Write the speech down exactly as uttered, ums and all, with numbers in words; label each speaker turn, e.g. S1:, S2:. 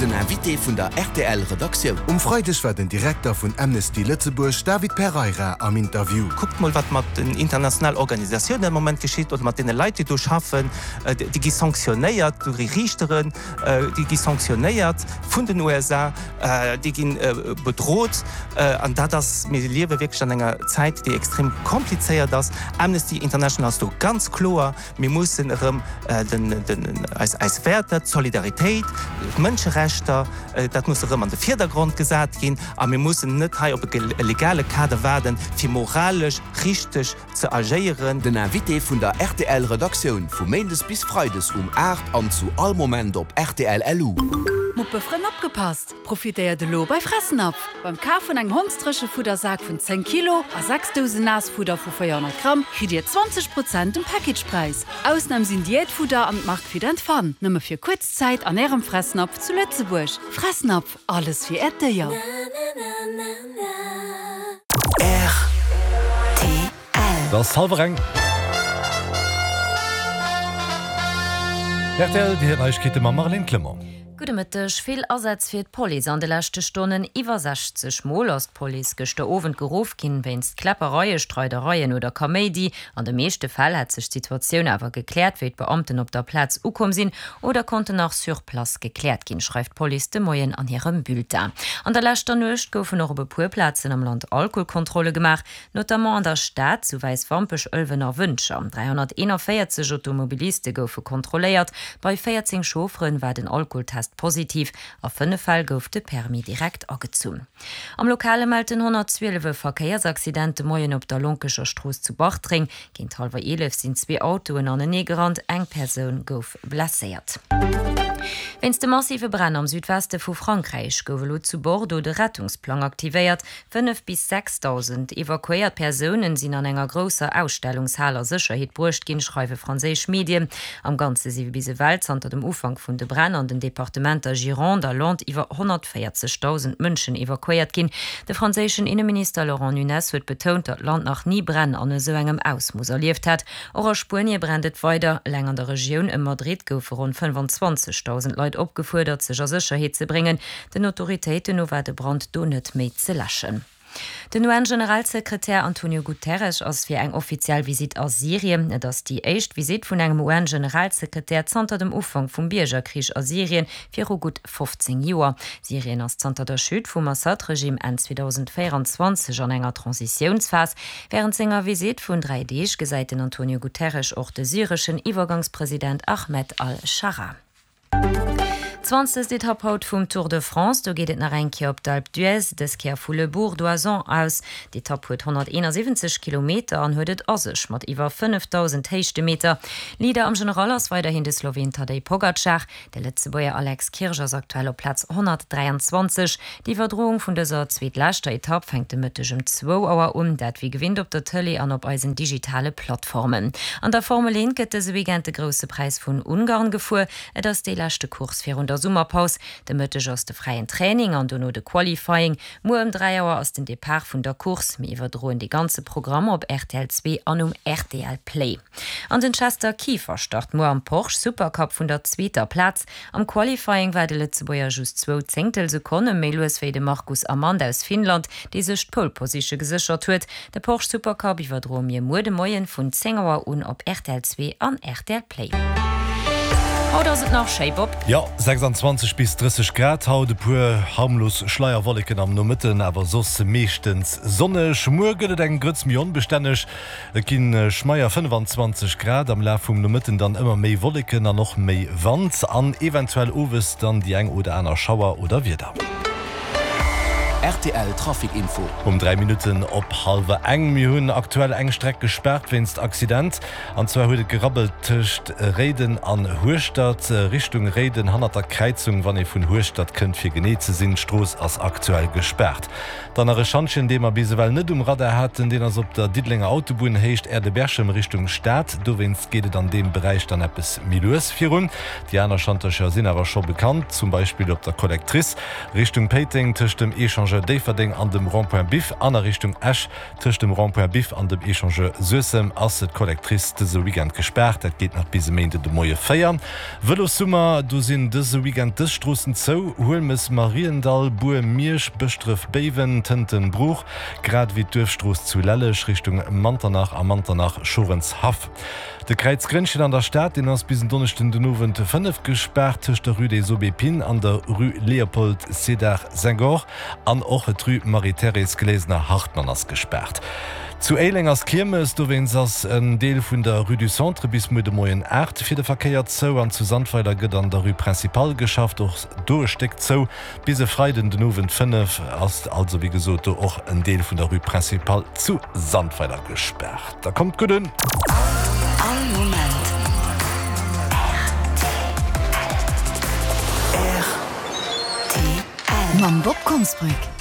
S1: Den Invité vun der R T L Redaktioun.
S2: Um Freideg war den Direkter vun Amnesty Lëtzebuerg David Pereira am Interview.
S3: Kuckt mol, wat mat den internationalen Organisatiounen am Moment geschitt oder mat deene Leit, déi do schaffen, déi gi sanktionéiert, déi Riichteren, déi gi sanktionéiert vun den U S A, déi gi bedroht an dat ass, mir liewe wierklech an enger Zäit, déi extrem komplizéiert ass. Amnesty International ass do ganz kloer, mir mussen erëm den, den, eis, eis Wäerter, d'Solidaritéit, d'Mënscherechter, dat muss erëm an de Virdergrond gesat ginn a mir mussen net hei op e legale Kader waarden, fir moralesch richteg ze agéieren.
S1: Den Invité vun der R T L Redaktioun vu Méindes bis Freides um aacht an zu all Moment op R T L L U.
S4: Muppefrënn opgepasst! Profitéiert elo bei Fressnapf! Beim Kaf vun engem Hondsdréchefuddersak vun zéng Kilo a sechs Dousen Naassfudder vu véierhonnert Gramm kritt Dir zwanzeg Prozent um Packagepräis. Ausnam sinn Diätfudder an d'Mark Fit and Fun. Nëmme fir kuerz Zäit an Ärem Fressnapf zu Lëtzebuerg. Fressnapf, alles fir Äert Déier.
S5: R T L.
S6: Et ass hallwer eng. R T L, déi Neiegkeete mam Marlène Clement.
S7: Gudde Mëtteg. Vill Asätz fir d'Police an de leschte Stonnen. Iwwer sechzeg Mol ass d'Police gëschter Owend geruff ginn, wéinst Kläppereie, Streidereien oder Kaméidi. An de meeschte Fäll hat sech d'Situatioun awer gekläert, wéi d'Beamten op der Plaz ukomm sinn oder konnten nach sur place gekläert ginn, schreift d'Police de Moien an hirem Bulletin. An der leschter Nuecht goufen och op e puer Plazen am Land Alkoholkontrolle gemaach, notamment an der Stad, zu Wäiswampech, Ëlwen a Wëntger. dräihonnerteeënvéierzeg Automobiliste goufe kontrolléiert. Bei véierzéng Chauffere war den Alkoholtest positiv. A fënnef Fäll gouf de Permis direkt agezunn. Am Lokale mellt den honnertzwielef e Verkéiersaccident de Moien op der Lonkecher Strooss zu Bartreng. Géint hallwer eelef sinn zwee Autoen aneneegerannt, eng Persoun gouf blesséiert. Wéinst de massive Bränn am Südweste vu Frankräich gouf elo zu Bordeaux de Rettungsplang aktivéiert. fënnef bis sechsdausend evakuéiert Persounen sinn an enger grousser Ausstellungshal a Sécherheet bruecht ginn, schreiwe franséisch Medien. Am Ganze si bis ewell zanter dem Ufank vun de Bränn an den Departementer Gironde a Landes iwwer honnertvéierzegdausend Mënschen evakuéiert ginn. De franséischen Inneminister Laurent Nunez huet betount, datt d'Land nach ni Bränn an esou engem Ausmooss erlieft hätt. Och a Spuenie brennt et weider. Eleng an der Regioun ëm Madrid goufe ronn fënnefanzwanzegdausend Leit opgefuerdert, sech a Sécherheet ze bréngen. Den Autoritéiten no war de Brand do net méi ze läschen. Den U N-Generalsekretär Antonio Guterres ass fir eng offiziell Visitt a Syrien. Et ass déi éischt Visitt vun engem U N-Generalsekretär zanter dem Ufank vum Biergerkrich a Syrien viru gutt fofzéng Joer. Syrien ass zanter der Chute vum Assad-Regime Enn zweedausendvéierenzwanzeg an enger Transitiounsphas. Wärend senger Visitt vun dräi Deeg gesäit den Antonio Guterres och de syreschen Iwwergangspresident Ahmed al-Schara. Zwanzegst Etapp haut vum Tour de France, do geet et nach eng Kéier op d'Alpe d'Huez, dës Kéier vu Le Bourg d'Oisans aus. D'Etapp huet honnerteenasiwwenzeg Kilometer an huet et a sech mat iwwer fënnefdausend Héichtemeter. Leader am General ass weiderhin de Sloween Tadej Pogacar. De Lëtzebuerger Alex Kirsch ass aktuell op Plaz honnertdräianzwanzeg. D'Iwwerdroung vun dëser zweetleschter Etapp fänkt de Mëtteg um zwou Auer un, dat wéi gewinnt op der Tëlee an op eisen digitale Plattformen. An der Formel eent gëtt dëse Weekend de Grousse Präis vun Ungarn gefuer. Et ass déi leschte Course virun der Summerpaus. De Mëtteg ass de fräien Training an dono de Qualifying. Muer ëm dräi Auer ass den Depart vun der Course. Mir iwwerdroen de ganze Programm op R T L zwee an um R T L Play. An den Chester Kieffer start muer am Porsche Supercup vun der zweeter Plaz. Am Qualifying war de Lëtzebuerger just zwou Zéngtelsekonne méi lues wéi de Marcus Amand aus Finnland, dee sech d'Pole Position geséchert huet. De Porsche Supercup iwwerdroe mir muer de Moien vun zéng Auer un op R T L zwee an R T L Play. Haut ass et nach schéi, Bob.
S6: Jo, sechsanzwanzeg bis drësseg Grad haut, e puer harmlos Schleierwolleken am Nomëtten, awer soss meeschtens sonneg. Muer gëtt et eng Grëtz méi onbestänneg, et ginn schmeier fënnefanzwanzeg Grad, am Laf vum Nomëtten dann ëmmer méi Wolleken an och méi Wand an eventuell owes dann déi eng oder aner Schauer oder Wieder.
S1: R T L Trafic Info.
S6: Um dräi Minutten op hallwer eng. Mir hunn aktuell eng Streck gespaart wéinst Accident. An zwar huet et gerabbelt tëscht Réiden an Hueschtert, Richtung Réiden hannert der Kräizung, wann ee vun Hueschtert kënnt, fir genee ze sinn. D'Strooss ass aktuell gespaart. Dann nach e Schantjen, dee mer bis ewell net um Radar haten, deen ass op der Diddelenger Autobunn, Héicht Aire de Berchem Richtung Stad. Dowéinst geet et an deem Beräich dann eppes méi lues virun. Déi aner Schantercher sinn awer scho bekannt, zum Beispill op der Collectrice Richtung Péiteng tëscht dem Echangeur Echangeur Déifferdeng an dem Rond-point Biff an a Richtung Esch tëscht dem Rond-point Biff an dem Echangeur Suessem ass d'Collectrice dëse Weekend gespaart. Dat geet nach bis e Méinden de Moie véier. Vëlossummer, do sinn dëse Weekend dës Stroossen zou, Huelmes, Mariendall, Bur, Miersch, Bëschdref, Béiwen, Tënten, Bruch, grad ewéi d'Duerfstrooss zu Lelleg Richtung Manternach a Manternach, Schorenshaff. De Kräiz Grénnchen an der Stad, deen ass bis en Donneschden den Owend fënnef gespaart tëscht der Rue des Aubépines an der Rue Léopold Sédar Senghor an och d'Rue Marie-Thérèse Glesener-Hartmann ass gespaart. Zu Éileng ass Kiermes, dowéinst ass en Deel vun der Rue du Centre bis muer de Moien aacht fir de Verkéier zou an zu Sandweiler gëtt an der Rue Principale geschafft, och do e Stéck zou. Bis e Freiden den Owend fënnef ass also wéi gesot do och en Deel vun der Rue Principale zu Sandweiler gespaart. Da kommt gutt un!
S5: All Moment rtl. Mam Bob Konsbrück.